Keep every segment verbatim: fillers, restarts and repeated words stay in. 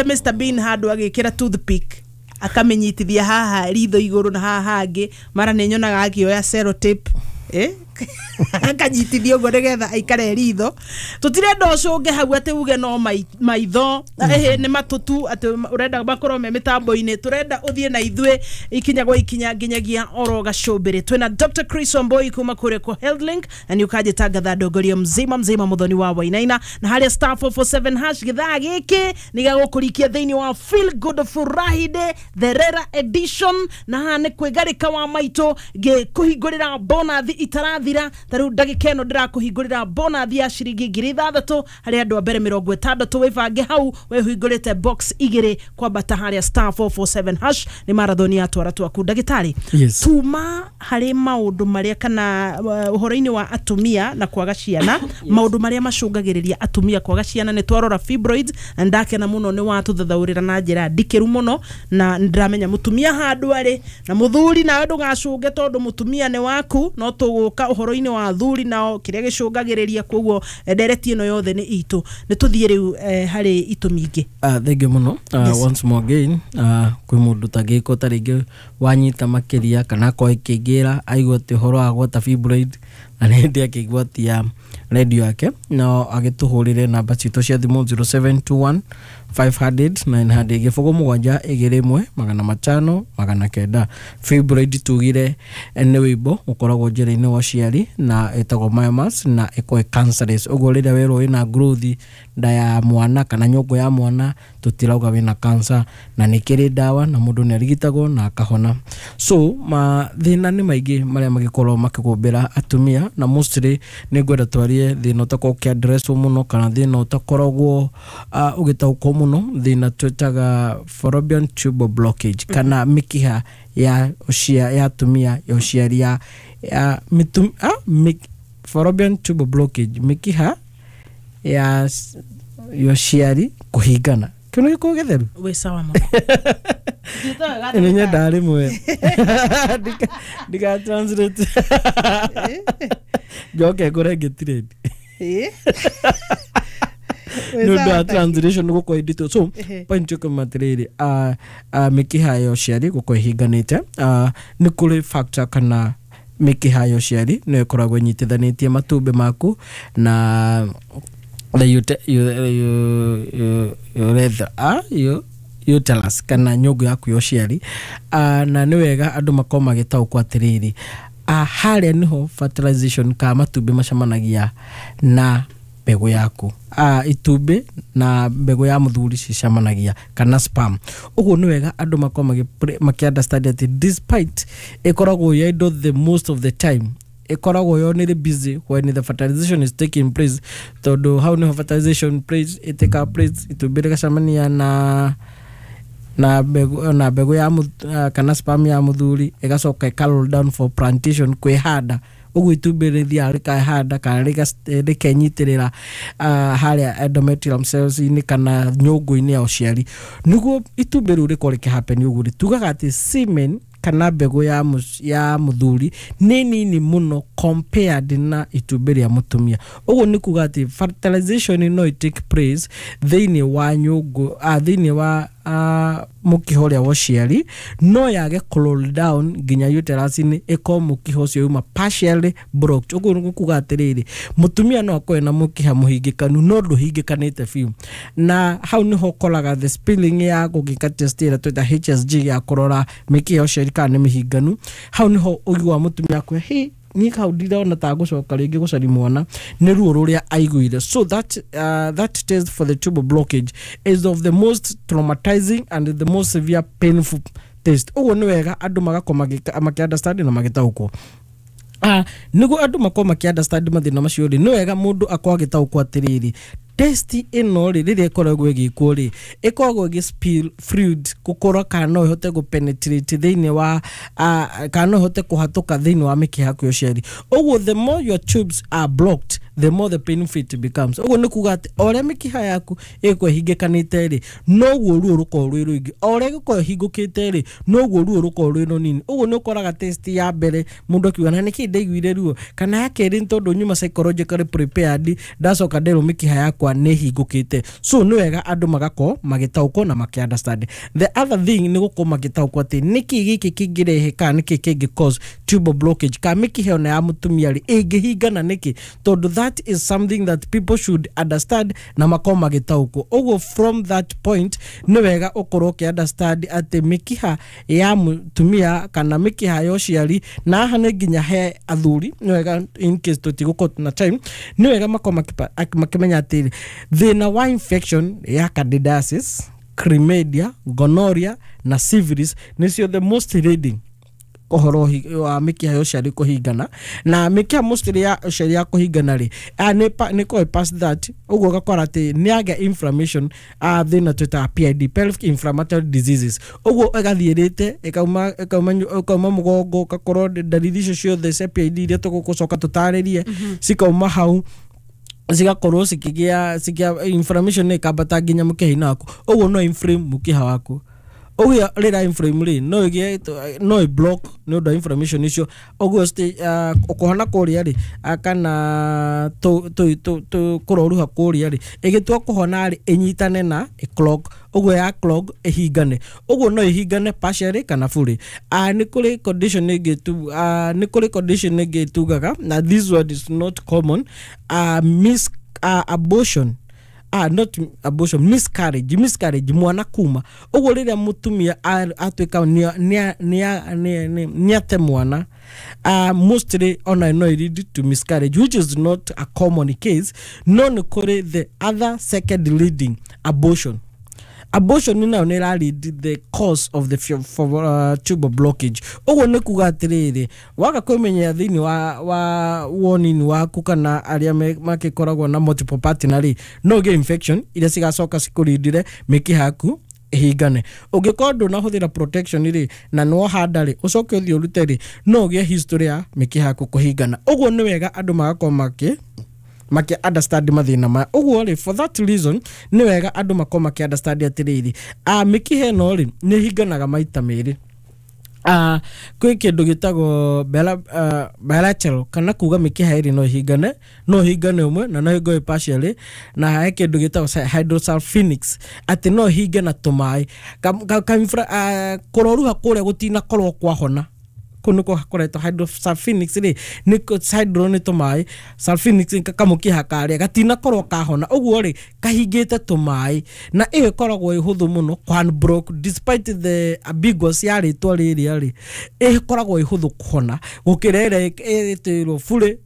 Mister Bean handũ agĩkĩra toothpick akamenyitithia haha ritho igũrũ na haha hangĩ, mara nĩ nyonaga akĩoya sellotape, eh? Akanyitithia ũguo nĩgetha aikare ritho. Tũtirenda ũcũnge hau atĩ uge no maitho, ĩhĩ nĩ matũ tu atĩ ũrenda makorwo me mĩtambo-inĩ. Tũrenda ũthiĩ na ithuĩ ikinya gwa ikinya nginyagia oro gacũmbĩrĩ. Twĩna Doctor Chris Wambui kuma kũrĩa kwa HealthLink na nĩ ũkanjĩtangatha ndongoria mzima mzima mũthoni wa Wainaina, na harĩa star four four seven hash gĩthaa gĩkĩ nĩ gĩgũkũrikia thĩinĩ wa Feel Good Friday Therera edition, na haha nĩ kwĩgarĩka wa maitũ ngĩkũhingũrĩra bonathi itarathira. Ta rĩu ndagĩka ĩno ndĩrakũhingũrĩra bonathi ya ciringi ngiri ithathatũ harĩ andũ a mbere mĩrongo ĩtandatũ. Wĩbange hau wĩhingũrĩte box igĩrĩ kwambata harĩa star four four seven hash. Nĩ marathoni ya twara twaku. Ndagĩtarĩ, Yes. tuma harĩ maũndũ marĩa kana uh, ũhoro-inĩ wa atumia na kwaga ciana. Yes. Maũndũ marĩa macũngagĩrĩria atumia kwaga ciana nĩ twarora fibroids, na ndakena mũno nĩ watũthathaũrĩra na njĩra ndikĩru mũno, na ndĩramenya mũtumia handũ arĩ na mũthuri nawe ndũgacũnge tondũ mũtumia nĩ waku, no tũgũka ũhoro-inĩ wa athuri nao kĩrĩa gĩcũngagĩrĩria. Koguo ndereti ĩno yothe nĩ itũ. Nĩ tũthiĩ rĩu eh, harĩ itũmi ingĩ. Uh, thank you mũno. uh, Yes. Once more again, uh, kwĩ mũndũ tangĩko ta rĩngĩ wanyita makĩria kana akorwo ĩkĩingĩra aigua atĩ ũhoro wa gwata fibroid na nĩ hĩndĩ akĩgwatia redio yake, no agĩtũhũrĩre namba citũ cia thimũ zero seven two one five hundred nine hundred gĩbũgũ mũgwanja igĩrĩ ĩmwe magana matano magana kenda. Fibroid tugire nĩ wĩimbo ũkoragwo njĩra-inĩ wa ũciari na ĩtagwo myomas na ĩkoragwo ĩ cancerous. Ũguo rĩrĩa werwo wĩna growth nda ya mwana kana nyũngũ ya mwana, tũtirauga wĩna cancer, na nĩ kĩrĩ ndawa na mũndũ nĩ arigitagwo na akahona. So mathĩna nĩ maingĩ marĩa magĩkorwo makĩgũmbĩra atumia, na mostly nĩ ngwenda twarie thĩna ũtakoragwo ũkĩaddresswo mũno kana thĩna ũtakoragwo uh, ũgĩtaũkwo mũno, thĩna twĩtaga fallopian tube blockage kana mĩkiha ya ũcia ya atumia ya ũciari ya, ya mitum, ah, mik, fallopian tube blockage, mĩkiha ya s- ya ũciari kũhingana. Kĩu nĩ gĩkũyũ gĩtheru? Wĩ sawa mũno. Nĩ nyendaga rĩmwe Ndika- ndika translate njoke ngũre ngĩtirĩndi nĩ ũndũ wa translation gũkorwo ĩnditũ. So point ĩkoma atĩrĩrĩ, uh, uh, mĩkiha ya ũciari gũkorwo ĩhinganĩte, uh, nĩ kũrĩ factor kana mĩkiha ya ũciari nĩyo ĩkoragwo ĩnyitithanĩtie matumbĩ maku na the ute- u- u- u- urethra, ah, u- uterus kana nyũngũ yaku ya ũciari. uh, na nĩ wega andũ makorwo magĩtaũkwo atĩrĩrĩ, uh, harĩa nĩho fertilization kana matumbĩ macemanagia na mbegũ yaku, uh, itumbĩ na mbegũ ya mũthuri cicemanagia kana sperm. Ũguo nĩ wega andũ makorwo magĩ makĩ understand atĩ despite ĩkoragwo yendo the most of the time ĩkoragwo yo nĩrĩ busy when the fertilization is taking place, tondũ hau nĩho fertilization place ĩtĩka place, itumbĩ rĩgacemania na na mbegũ na mbegũ ya mũth- uh, kana sperm ya mũthuri, ĩgacoka ĩka roll down for plantation, kwĩhanda. Ũguo itumbĩ rĩthiaga rĩkehanda kana rĩga- rĩkenyitĩrĩra uh, harĩa endometrium cells-inĩ kana nyũngũ-inĩ ya ũciari. Nĩguo itumbĩ rĩu rĩkorwo rĩkĩhappen ũguo rĩ, tugaga atĩ semen kana mbegũ ya, mũc- ya mũthuri nĩ nini mũno compared na itumbĩ rĩa mũtumia. Ũguo nĩ kuga atĩ fertilization no ĩ take place thĩinĩ wa nyũngũ, ah, thĩinĩ wa ah, mũkiha ũrĩa wa ũciari, no yage kũ roll down nginya uterus-inĩ, ĩkorwo mũkiha ũcio uma partially blocked. Ũguo nĩ kuga atĩrĩrĩ, mũtumia no akorwo na mũkiha mũhingĩkanu no ndũhingĩkanĩte biũ, na hau nĩho ũkoraga the spilling ya gũgĩka test ĩrĩa twĩta H S G ya kũrora mĩkiha ya ũciari kana nĩ mĩhinganu. Hau nĩho ũiguaga mũtumia akwĩra, hey, niĩ hau ndirona ta ngũcoka rĩngĩ gũcaria mwana nĩ ruo rũrĩa aiguire. So that, uh, that test for the tubal blockage is of the most traumatizing and the most severe painful test. Ũguo nĩ wega andũ magakorwo magĩka-, makĩ understand na magĩtaũkwo. Ah, nĩguo andũ makorwo makĩ understand mathĩna macio rĩ, nĩ wega mũndũ akorwo agĩtaũkwo atĩrĩrĩ, test ĩno rĩ, rĩrĩa ĩkoragwo ĩgĩkwo rĩ, ĩkoragwo ĩgĩ spill fluid gũkorwo kana no ĩhote gũ penetrate thĩinĩ wa, ah, kana no ĩhote kũhatũka thĩinĩ wa mĩkiha yaku ya ũciari. Ũguo the more your tubes are blocked, the more the painful it becomes. Ũguo nĩ kuga atĩ o ũrĩa mĩkiha yaku ĩgũkorwo ĩhingĩkanĩte rĩ, noguo ruo rũkoragwo rwĩ rũingĩ, o ũrĩa ĩgũkorwo ĩhingũkĩte rĩ, noguo ruo rũkoragwo rwĩ rũnini. Ũguo nĩ ũkoraga test ya mbere mũndũ akiuga na nĩkĩ ndaiguire ruo, kana ya kerĩ nĩ tondũ nyuma psychologically prepared, ndacoka nderwo mĩkiha yakwa yakwa nĩ hingũkĩte. So nĩ wega andũ magakorwo magĩtaũkwo na makĩ understand. The other thing nĩ gũkorwo magĩtaũkwo atĩ nĩkĩ gĩkĩ kĩngĩrehe kana nĩkĩ kĩngĩ cause tubal blockage, kana mĩkiha ona ya mũtumia rĩ ĩngĩhingana nĩkĩ, tondũ that is something that people should understand na makorwo magĩtaũkwo. Ũguo from that point nĩ wega ũkorwo ũkĩ understand atĩ mĩkiha ya mũtumia kana mĩkiha ya ũciari, na haha nĩ nginya he athuri, nĩ wega in case tũtigũkorwo na time, nĩ wega makorwo makĩpa- ak- makĩmenya atĩ thĩna wa infection ya candidiasis, chlamydia, gonorrhea na syphilis nĩcio the most leading ũhoro ũhi- wa mĩkiha ya ũciari kũhingana. Na mĩkiha mostly ya ũciari ya kũhingana rĩ, ah, nĩ pa- nĩ kũĩ past that, ũguo ũgakora atĩ nĩ agĩa inflammation, ah, thĩna twĩtaga P I D, pelvic inflammatory diseases. Ũguo ĩgathiĩrĩte ĩkauma ĩkauma nyu- ĩkauma mũgongo, ũgakorwo ndariri icio ciothe cia P I D iria tũgũcoka tũtarĩrie cikauma hau, cigakorwo cikĩgĩa cikĩa inflammation nĩ ĩkambata nginya mũkiha-inĩ waku. Ũguo no inflame mũkiha waku. Ũguo rĩrĩa inflame rĩ, no ĩgĩe, no ĩ block nĩ ũndũ wa inflammation icio. Ũguo sti- uh, kũhona kũrĩa rĩ, ah, kana tũ- tũ- tũ- tũ- kũroruha kũrĩa rĩ, ĩgĩtua kũhona rĩ, ĩnyitane na ĩ clog. Ũguo ya clog ĩhingane. Ũguo no ĩhingane partially kana fully. uh, nĩ kũrĩ condition ĩngĩ tu, uh, nĩ kũrĩ condition ĩngĩ tugaga, na this one is not common, uh, mis uh, abortion, ah, not abortion, miscarriage. Miscarriage, mwana kuma. Ũguo rĩrĩa mũtumia a- atuĩka nĩ ate mwana, uh, mostly ona no lead to miscarriage, which is not a common case, no nĩ kũrĩ the other second leading, abortion. Abortion nayo nĩ ĩra lead the cause of the fu- for, uh, tubal blockage. Ũguo nĩ kuga atĩrĩrĩ, waga kwĩmenyera thĩinĩ wa, wa wonini waku kana arĩa me- makĩkoragwo na multiple partner rĩ, no ũgĩe infection iria cigacoka cikũrindire mĩkiha yaku ĩhingane. Ũngĩkorwo ndũnahũthĩra protection rĩ, na nĩwohanda rĩ, ũcoke ũthiĩ ũrute rĩ, no ũgĩe history ya mĩkiha yaku kũhingana. Ũguo nĩ wega andũ magakorwo makĩ makĩ understand mathĩna maya. Ũguo rĩ, for that reason nĩ wega andũ makorwo makĩ understand atĩrĩrĩ, ah, mĩkiha ĩno rĩ nĩ ĩhinganaga maita merĩ. Uh, kwĩ kĩndũ gĩtagwo bila- uh, bilateral, kana kuga mĩkiha ĩrĩ no ĩhingane, no ĩhingane ũmwe na no ĩhingane partially. Na he kĩndũ gĩtagwo hydrosalpinx, atĩ no ĩhinge na tũmaĩ. Ka- ka- ka- infra- uh, kũroruha kũrĩa gũtinakorwo kwahona, kũu nĩkuo koretwo hydrosalpinx rĩ, nĩ kũ- hydro nĩ tũmaĩ, salpinx nĩ kamũkiha karĩa gatinakorwo kahona. Ũguo rĩ, kahingĩte tũmaĩ, na ĩyo ĩkoragwo ĩ hũthũ mũno kũ despite the ambiguous ya rĩtwa rĩrĩa rĩ, ĩkoragwo ĩ hũthũ kũhona gũkĩra ĩrĩa ĩtĩrwo fully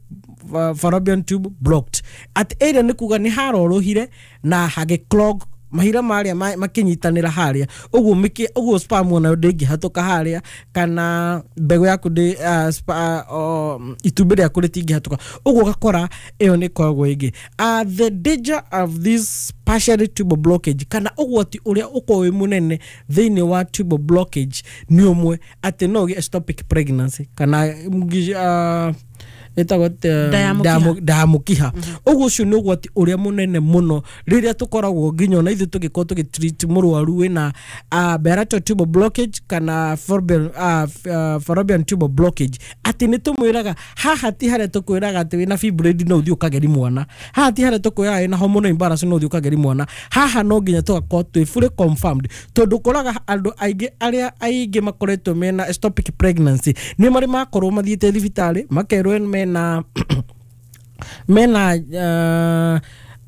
uh, fallopian tube blocked, atĩ ĩrĩa nĩ kuga nĩ harorũhire na hagĩ clog, mahira marĩa ma- makĩnyitanĩra harĩa. Ũguo mĩkĩ ũguo sperm onayo ndĩngĩhatũka harĩa, kana mbegũ yaku ndĩ uh, spa, uh, itumbĩ rĩaku rĩtingĩhatũka. Ũguo ũgakora ĩyo nĩ ĩkoragwo ĩngĩ. uh, the danger of this partially tubal blockage, kana ũgwati ũrĩa ũkoragwo wĩ mũnene thĩinĩ wa tubal blockage, nĩ ũmwe atĩ no ũgĩe ectopic pregnancy kana uh, ĩtagwo atĩa? Nda ya Nda ya mũkiha. mũ- nda ya mũkiha. Ũguo ũcio nĩ ũgwati ũrĩa mũnene mũno rĩrĩa tũkoragwo nginya ona ithuĩ tũgĩkorwo tũgĩtreat mũrwaru wĩna uh, bilateral tubal blockage kana fallopian, uh, uh, fallopian tubal blockage, atĩ nĩ tũmwĩraga haha ti harĩa tũkwĩraga atĩ wĩna fibroid no ũthiĩ ũkageri mwana, haha ti harĩa tũkwĩraga wĩna hormonal imbalance no ũthiĩ ũkageri mwana. Haha no nginya tũgakorwo twĩ fully confirmed, tondũ ũkoraga andũ aingĩ arĩa aingĩ makoretwo mena ectopic pregnancy nĩ marĩ makorwo mathiĩte thibitarĩ makerwo mena mena uh,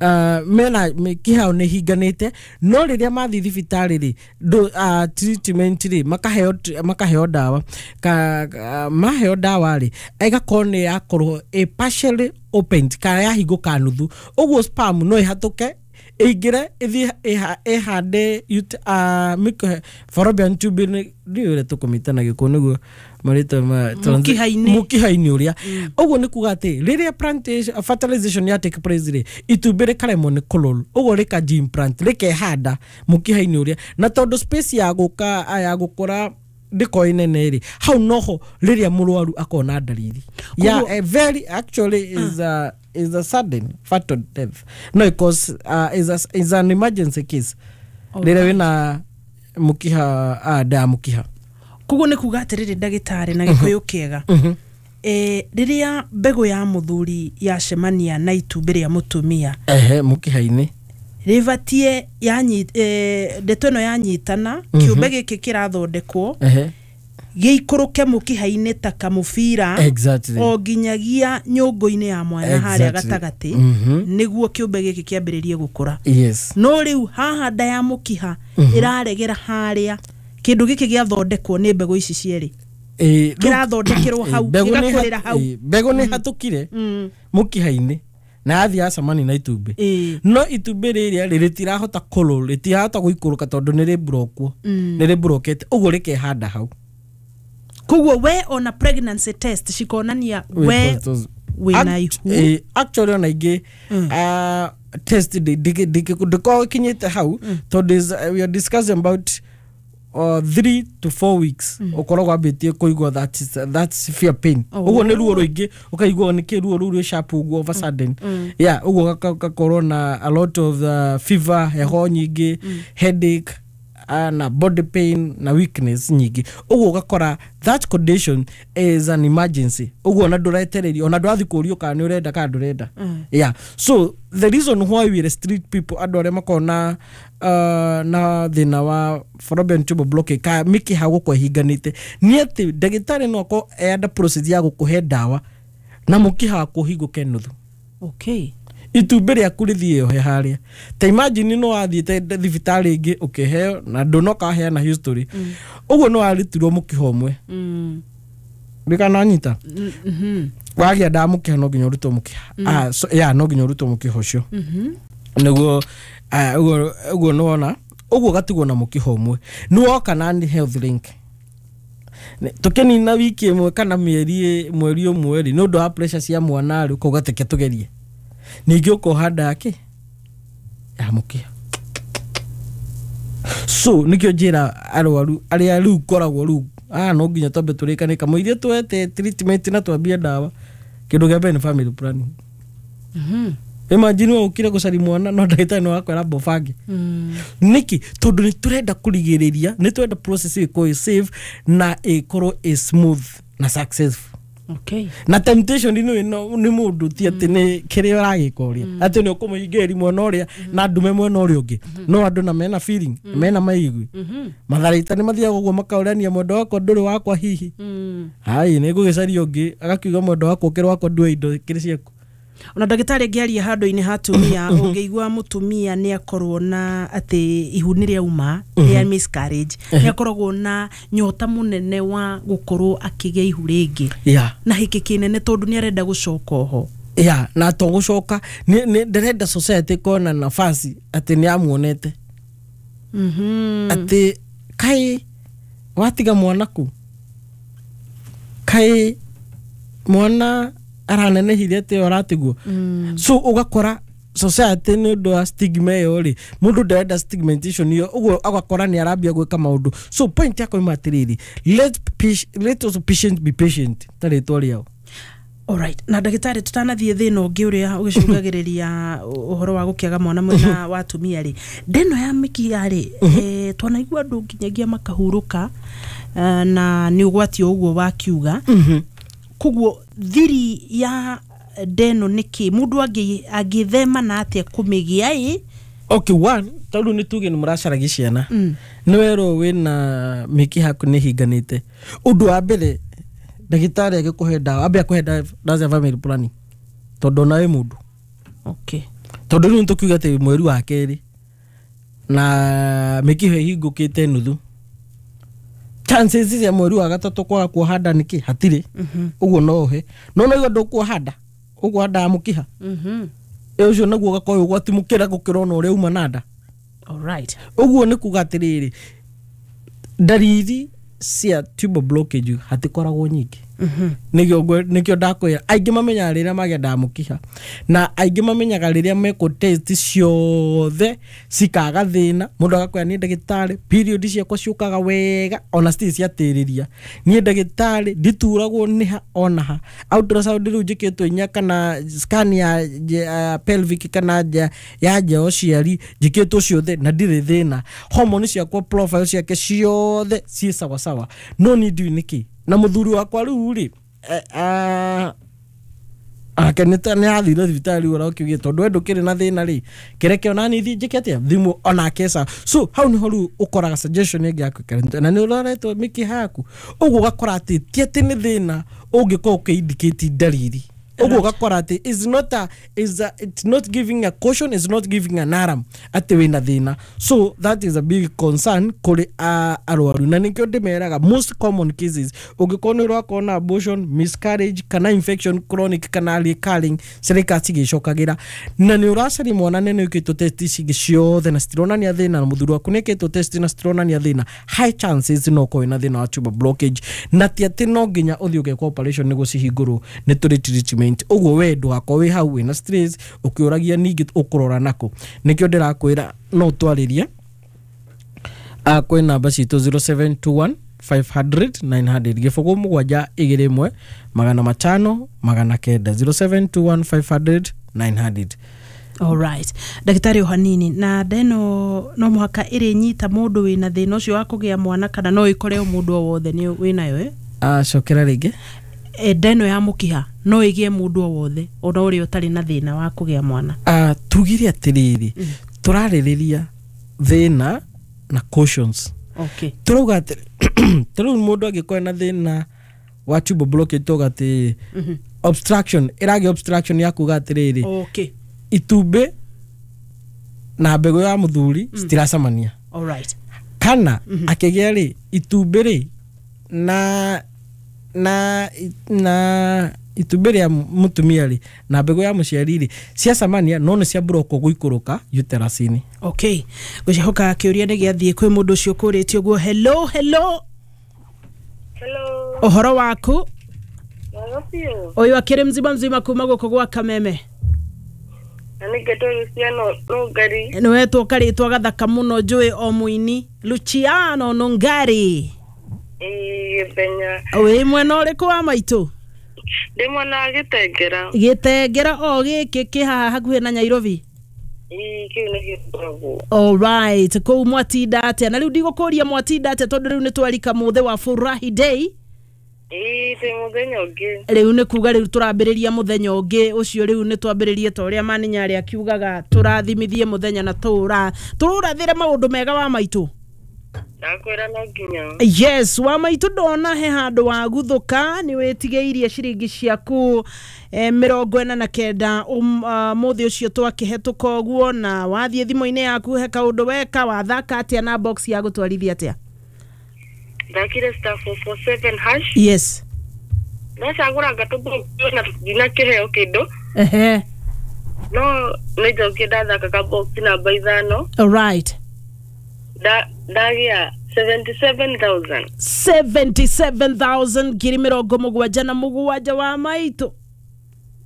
uh, mena mĩkiha nĩ hinganĩte, no rĩrĩa mathiĩ thibitarĩ rĩ, ndũ- uh, treatment rĩ, makaheo makaheo ndawa ka, ka, maheo ndawa rĩ, ĩgakorwo nĩ yakorwo ĩ partially opened kana yahingũka nuthu. Ũguo sperm no ĩhatũke ĩingĩre ĩthiĩ ĩha- ĩhande ut- ah, mĩkiha fallopian tube nĩ ndiũĩ ũrĩa tũkũmĩta na gĩkũyũ nĩguo marĩtwa ma Mũkiha-inĩ. Mũkiha-inĩ ũrĩa. Ũguo nĩ kuga atĩ rĩrĩa plantation fertilization ya take place rĩ, itumbĩ rĩkaremwo nĩ kũroll, ũguo rĩkanji implant, rĩkehanda mũkiha-inĩ ũrĩa, na tondũ space ya gũka ya gũkũra ndĩkorwo ĩnene rĩ, hau noho rĩrĩa mũrwaru akona ndariri ya Koguo- a very actually is a is a sudden fatal death, no, because uh, is a, is an emergency case rĩrĩa wĩna mũkiha uh, nda ya mũkiha. Koguo nĩ kuga atĩrĩrĩ, ndagĩtarĩ, na gĩkũyũ kĩega, Mhm. Eh, rĩrĩa mbegũ ya mũthuri yacemania na itumbĩ rĩa mũtumia Ehe, mũkiha-inĩ. Rĩbatie yanyi eh, ndeto ĩno yanyitana, kĩũmbe gĩkĩ kĩrathondekwo Ehe. gĩikũrũke mũkiha-inĩ ta kamũbira Exactly. o nginyagia nyũngũ-inĩ ya mwana harĩa Exactly. gatagatĩ, Mhm. nĩguo kĩũmbe gĩkĩ kĩambĩrĩrie gũkũra. Yes. No rĩu haha nda ya mũkiha ĩraregera harĩa kĩndũ gĩkĩ gĩathondekwo nĩ mbegũ ici cierĩ, Eh, kĩrathondekerwo hau, mbegũ nĩ gĩgakũrĩra ha- hau. eh, mbegũ nĩ hatũkire Mm. mũkiha-inĩ na yathiĩ yacemania na itumbĩ, Ĩĩ. no itumbĩ rĩrĩa rĩ rĩtirahota kũrũ, rĩtirahota gũikũrũka tondũ nĩ rĩmburokwo, nĩ rĩmburokete ũguo rĩkehanda hau. Koguo we ona pregnancy test cikonania we wĩna ihu. Eh, actually ona ingĩ ah, test ndĩkoragwo ĩkinyĩte hau tondũ is- we are discussing about uh, three to four weeks ũkoragwo ambĩtie kũigua that is, that severe pain. Oh. Ũguo nĩ ruo rũingĩ, ũkaigua nĩkĩ ruo rũu rwĩ sharp ũguo of a sudden. Yeah, ũguo gaka- gakorwo na a lot of uh, fever, heho nyingĩ, headache, uh, na body pain na weakness nyingĩ. Ũguo ũgakora that condition is an emergency. Ũguo ona ndũretererio, ona ndũrathiĩ kũũrio kana nĩ ũrenda kana ndũrenda. Yeah, so the reason why we restrict people, andũ arĩa makoragwo na uh, na thĩna wa fallopian tube blockage ka mĩkiha gũkorwo ĩhinganĩte, nĩ atĩ ndagĩtarĩ no akorwo e under process ya gũkũhe ndawa na mũkiha waku ũhingũke nuthu, okay itumbĩ rĩaku rĩthiĩ yohe harĩa. Ta imagine no wathiĩte thibitarĩ ĩngĩ ũkĩheo na ndũnoka waheana history, ũguo no warutirwo mũkiha ũmwe. mm. Ndĩkananyita. mm-hmm. Wagĩa ndawa mũkiha no nginya ũrutwo mũkiha. Ah, so, yeah, no nginya ũrutwo mũkiha ũcio Mm-hmm. nĩguo ah, ũguo ũguo nĩwona ũguo ũgatigwo na mũkiha ũmwe. Nĩwoka na nĩ Health Link. Nĩ- tũkĩnina wiki ĩmwe kana mĩeri mweri ũmwe rĩ, nĩ ũndũ wa pressure cia mwana rĩ, ũkauga teke tũgerie ningĩ, ũkoha nda kĩ ya mũkiha. So nĩkĩo njĩra arwaru arĩa rĩu ngoragwo rĩu, ah, no nginya twambe tũrĩkane kamũiria twete treatment na twambie ndawa. Kĩndũ kĩa mbere nĩ family planning. Mm-hmm. Imagine we ũkire gũcaria mwana no ndagĩtarĩ nĩ wakwĩra mbobange. Mm. Nĩkĩ? Tondũ nĩ tũrenda kũrigĩrĩria, nĩ tũrenda process ĩkorwo ĩ safe na ĩkorwo ĩ smooth na successful. Okay Na temptation nĩ ĩno nĩ mũndũ, ti atĩ nĩ kĩrĩa ũragĩka ũrĩa atĩ nĩ ũkũmũhingĩrĩria mwena ũrĩa na ndume mwena ũrĩa ũngĩ. No andũ na mena feeling, mena maigui matharaita nĩ mathiaga ũguo makaũrania, mwendo wakwa ndũrĩ wakwa hihi. mm. Ai, nĩ ngũgĩcaria ũngĩ agakiuga mwendo wakwa ũkĩrĩ wakwa, ndue indo kĩrĩ ciaku. Ona ndagĩtarĩ ngĩaria handũ-inĩ ha atumia, ũngĩigua mũtumia nĩ akorwo na atĩ ihu nĩ rĩauma rĩa miscarriage, nĩ akoragwo na nyota mũnene wa gũkorwo akĩgĩa ihu rĩngĩ yeah. na hĩkĩ kĩnene tondũ nĩ arenda gũcoka oho. Ya, na to gũcoka nĩ nĩ- ndĩrenda society kona nafasi atĩ nĩ amuonete, Mhm. atĩ kaĩ watiga mwana ku, kaĩ mwana aranenehire atĩ ũratigwo. Mm. So ũgakora society nĩ ũndũ wa stigma ĩyo rĩ, mũndũ ndarenda stigmatization ĩyo, ũguo agakora nĩ arambia gwĩka maũndũ. So point yakwa ima atĩrĩrĩ, let, patient- let us patient be patient ta rĩtwa rĩao. Alright. Na ndagĩtarĩ, tũtanathiĩ thĩna ũngĩ ũrĩa ũgĩcũngagĩrĩria ũhoro wa gũkĩaga mwana mwena wa atumia rĩ, ndeno ya mĩkiha rĩ, eh, twanaigua andũ nginyagia makahurũka, eh, na nĩ ũgwati o ũguo wakiuga. Koguo thiri ya ndeno nĩ kĩ? Mũndũ angĩ- angĩthema na atĩa kũmĩgĩa ĩ? Okay, one, tondũ nĩ tuge nĩ mũracaragia ciana, Mm. nĩ werwo wĩna mĩkiha yaku nĩ ĩhinganĩte, ũndũ wa mbere ndagĩtarĩ agĩkũhe ndawa ambe akũhe ndawa ndawa cia family planning tondũ ona wĩ mũndũ. Okay. Tondũ rĩu nĩtũkiuga atĩ mweri wa kerĩ na mĩkiha ĩhingũkĩte nuthu, chances cia mweri wa gatatũ kwaga kuoha nda nĩkĩ hatirĩ. Mhm. Ũguo no ũhe no no igua ndũkuoha nda, ũkuoha nda ya mũkiha. Mhm. Ĩ ũcio naguo ũgakorwo wĩ ũgwati mũkĩra gũkĩra ona ũrĩa uma na nda. Alright. Ũguo nĩ kuga atĩrĩrĩ, ndariri cia tubal blockage hatikoragwo nyingĩ. Mhm. Nĩkĩo ngwe- nĩkĩo ndakwĩra aingĩ mamenyaga rĩrĩa magĩa nda ya mũkiha, na aingĩ mamenyaga rĩrĩa mekwo test ciothe cikaga thĩna. Mũndũ agakwĩra, niĩ ndagĩtarĩ, period ciakwa ciũkaga wega ona citirĩ ciatĩrĩria, niĩ ndagĩtarĩ ndituragwo nĩha ona ha, ultrasound rĩu njĩkĩtwo inya kana scan ya, ya pelvic kana ya, ya nja ya ũciari njĩkĩtwo ciothe na ndirĩ thĩna, hormone ciakwa profile ciake ciothe ciĩ sawasawa, no niĩ ndiũĩ nĩkĩ na mũthuri wakwa rĩu rĩ. eh, ake nĩ ta- nĩ athire thibitarĩ ũrĩa ũkiugire tondũ we ndũkĩrĩ na thĩna rĩ, kĩreke onani thiĩ njĩke atĩa thimũ onake sa. So hau nĩho rĩu ũkoraga suggestion ĩngĩ ya kwĩkara na nĩ ũroretwo mĩkiha yaku, ũguo ũgakora atĩ ti atĩ nĩ thĩna ũngĩkorwo ũkĩ-indicate ndariri, ũguo ũgakora atĩ is not a, is a, it's not giving a caution, is not giving an alarm atĩ wĩna thĩna. So that is a big concern kũrĩ uh, arwaru, na nĩkĩo ndĩmeraga most common cases ũngĩkorwo nĩ ũrakorwo na abortion, miscarriage kana infection chronic kana recurring cirika cigĩcokagĩra, na nĩ ũracaria mwana na nĩ wĩkĩtwo test ici ciothe na citironania thĩna, na mũthuri waku nĩ ĩkĩtwo test na citironania thĩna, high chances no ũkorwo wĩna thĩna wa tubal blockage. Na ti atĩ no nginya ũthiĩ ũgekwo operation nĩguo cihingũrwo, nĩ tũrĩ treatment. Ũguo we ndũgakorwo wĩ hau wĩna stress ũkĩũragia ningĩ ũkũrora nakũ. Nĩkĩo ndĩrakwĩra no ũtwarĩrie uh, kwĩ namba citũ zero seven two one five hundred nine hundred, gĩbũgũ mũgwanja igĩrĩ ĩmwe magana matano magana kenda, zero seven two one five hundred nine hundred. Alright, ndagĩtarĩ, o hanini na ndeno, no mũhaka ĩrĩnyita mũndũ wĩna thĩna ũcio wa kũgĩa mwana kana no ĩkore o mũndũ o wothe nĩ wĩnayo, eh? uh, cokera rĩngĩ. E, ndeno ya mũkiha no ĩgĩe mũndũ o wothe ona ũrĩa ũtarĩ na thĩna wa kũgĩa mwana? uh, tugire atĩrĩrĩ, tũrarĩrĩria thĩna na cautions. Okay. Tũrauga atĩ tarĩu mũndũ angĩkorwo na thĩna wa tubal blockage, tuga atĩ obstruction ĩragĩa, obstruction ya kuga atĩrĩrĩ, okay itumbĩ na mbegũ ya mũthuri citiracemania, alright kana akĩgĩa rĩ itumbĩ rĩ na na na itumbĩ rĩa mũtumia rĩ na mbegũ ya mũciari rĩ ciacemania, no nĩ ciamburokwo gũikũrũka uterus-inĩ. Okay, ngwĩhoka kĩũria nĩ gĩathiĩ kwĩ mũndũ ũcio ũkũrĩtie ũguo. Hello, hello. Hello. Ũhoro waku? Mwega biũ. Ũyũ akĩrĩ mzima mzima kuma gũkũ gwa Kameme. Na nĩ ngetwo Luciano Nungari. Nĩ wetwo karĩtwa gathaka mũno, njũĩ o mũini Luciano Nungari. Ĩĩ, Gĩthenya. Wĩ mwena ũrĩkũ wa maitũ? Ndĩ mwena wa Gĩtengera. Gĩtengera o gĩkĩ kĩ haha hakuhĩ na Nyairobi? Ĩĩ, kĩu nĩkĩo ngoragwo. Alright, kũu mwatinda atĩa? Na rĩu ndigũkũria mwatinda atĩa tondũ rĩu nĩ twarika mũthĩ wa Furahi Day. Ĩĩ, twĩ mũthenya ũngĩ. Rĩu nĩ kuga rĩu tũrambĩrĩria mũthenya ũngĩ ũcio, rĩu nĩ twambĩrĩrie ta ũrĩa maninyarĩ akiugaga tũrathimithie mũthenya na tũra tũrathĩre maũndũ mega wa maitũ. Ndakwĩra no nginya. Yes, wa maitũ, ndona he handũ waguthũka nĩ wĩtigĩirie ciringi ciaku eh, mĩrongo ĩna na kenda um, uh, mũthĩ ũcio twakĩhetũka ũguo, na wathiĩ thimũ-inĩ yaku he kaũndũ weka, wathaka atĩa na box ya gũtwarithia atĩa? Ndakire star four four seven hash. Yes. Ndacagũra ngatũbox na ndinakĩheo kĩndũ. Ehe. No nĩ njokire ndathaka ka box namba ithano. Alright. Nda- Ndagĩa seventy seven thousand. seventy-seven thousand, ngiri mĩrongo mũgwanja na mũgwanja wa maitũ.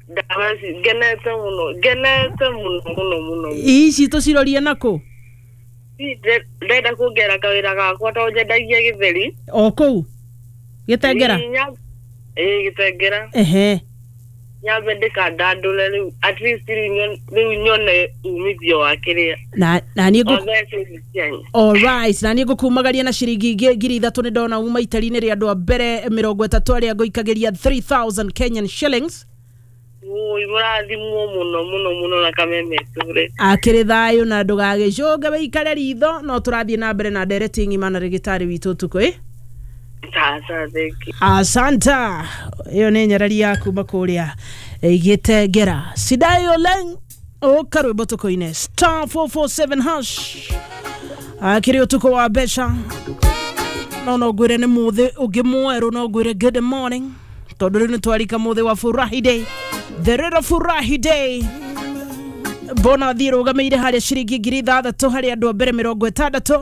Ndawa ngenete mũno, ngenete mũno mũno mũno. Ici tũcirorie nakũ? Ndenda kuongera kawĩra gakwa tondũ nyendagia gĩtheri. O kũu Gĩtengera? Ĩĩ, nya- ĩĩ, Gĩtengera. Ehe. Nyambe ndĩkandandũre rĩu, at least rĩu nyo- rĩu nyone umithio wa kĩrĩa na na niĩ ngũ o mbeca ici cianyu. Alright, na niĩ ngũkumagaria na ciringi ingĩ ngiri ithatũ. Nĩ ndona uma itari-inĩ rĩa andũ a mbere mĩrongo ĩtatũ arĩa ngũikagĩria three thousand Kenyan shillings. Ui, mũrathimwo mũno mũno mũno na Kameme tũre. Akĩrĩ thayũ na ndũgagĩcũnge, wĩikare ritho no tũrathiĩ na mbere na ndereti ng'ima na rĩgĩtarĩ witũ ũtukũ ĩ. Sasa thank you. Asanta, ĩyo nĩ nyarari ya kuma kũrĩa Gĩtengera. Sidayo leng ũka rwĩmbo tũkũine star four four seven hash. Akĩrĩ ũtukũ wa mbeca, no no ngwĩre nĩ mũthĩ ũngĩ mwerũ, no ngwĩre good morning tondũ rĩu nĩ twarika mũthĩ wa Furahi Day, the real Furahi Day. Bona thiĩ rũgamĩire harĩa ciringi ngiri ithathatũ harĩ andũ a mbere mĩrongo ĩtandatũ.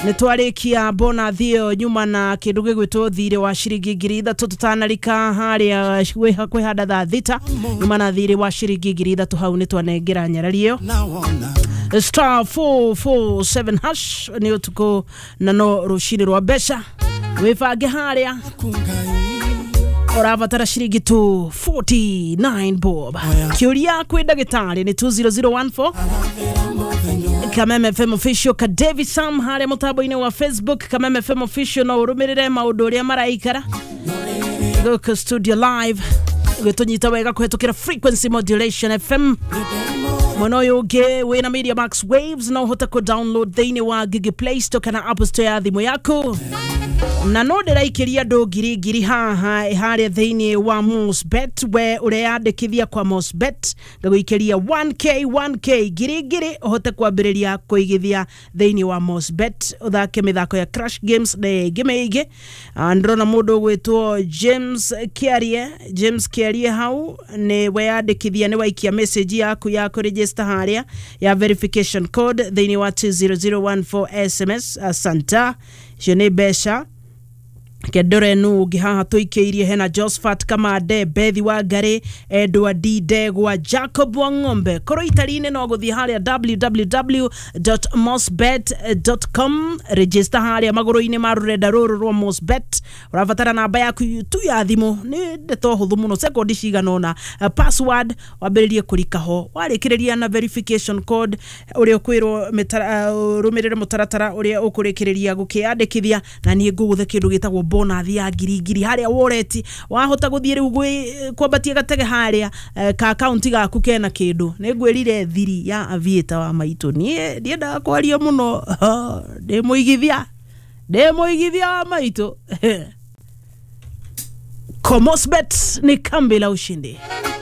Nĩ twarĩkia bonathi ĩyo nyuma na kĩndũ gĩgwĩtwo thirĩ wa ciringi ngiri ithatũ tũtanarika harĩa kwĩ- kwĩhanda thaa thita, nyuma na thirĩ wa ciringi ngiri ithatũ hau nĩ twanengera nyarari ĩyo star four four seven hash. Nĩ ũtukũ na no rũcinĩ rwa mbeca, wĩbange harĩa ũrabatara ciringi tu forty-nine bob. Kĩũria kwĩ ndagĩtarĩ nĩ two zero zero one four. Kameme F M Official, ka David Sam harĩa mũtambo-inĩ wa Facebook, Kameme F M Official, no ũrũmĩrĩre maũndũ ũrĩa maraikara. Gũkũ studio live gwĩtũnyita wega kũhetũkĩra frequency modulation F M. Mwena ũyũ ũngĩ wĩna Media Max Waves, no ũhote kũ download thĩinĩ wa Google Play Store kana Apple Store ya thimũ yaku. Na no ndĩraikĩria andũ ngiri ngiri haha harĩa thĩinĩ wa Mosbet. We ũreyandĩkithia kwa Mosbet, ngagũikĩria one K one K, ngiri ngiri, ũhote kwambĩrĩria kũigithia thĩinĩ wa Mosbet, ũthake mĩthako ya crash games na ĩngĩ mĩingĩ. Ah, ndĩrona mũndũ ũgwĩtwo James Kiarie. James Kiarie, hau nĩ weyandĩkithia, nĩ waikia message yaku ya kũregister harĩa ya verification code thĩinĩ wa two zero zero one four S M S. Asanta, icio nĩ mbeca. Kendore nu ũngĩ haha tũikĩirie, hena Josphat Kamande, Bethi wa Ngarĩ, Edward Ndegwa, Jacob wa Ng'ombe. Korwo itari-inĩ, no gũthiĩ harĩa w w w dot mosbet dot com, register harĩa magũrũ-inĩ ma rũrenda rũrũ rwa Mosbet. Ũrabatara namba yaku tu ya thimũ, nĩ ndeto hũthũ mũno, sekondi cigana ũna. Uh, password wambĩrĩrie kũrika ho, warĩkĩrĩria na verification code ũrĩa ũkwĩrwo mĩtara- uh, ũrũmĩrĩre mũtaratara ũrĩa ũkũrĩkĩrĩria gũkĩandĩkithia, na niĩ ngũgũthe kĩndũ gĩtagwo bonus ya ngiri ngiri harĩa wallet. Wahota gũthiĩ rĩu gwĩ kwambatia gatege harĩa eh, ka akaunti gaku kena kĩndũ. Nĩ ngwĩrire thiri ya Aviator wa maitũ, niĩ ndiendaga kwaria mũno, ndĩ mũigithia, ndĩ mũigithia wa maitũ. Komosbet ni kambi la ushindi.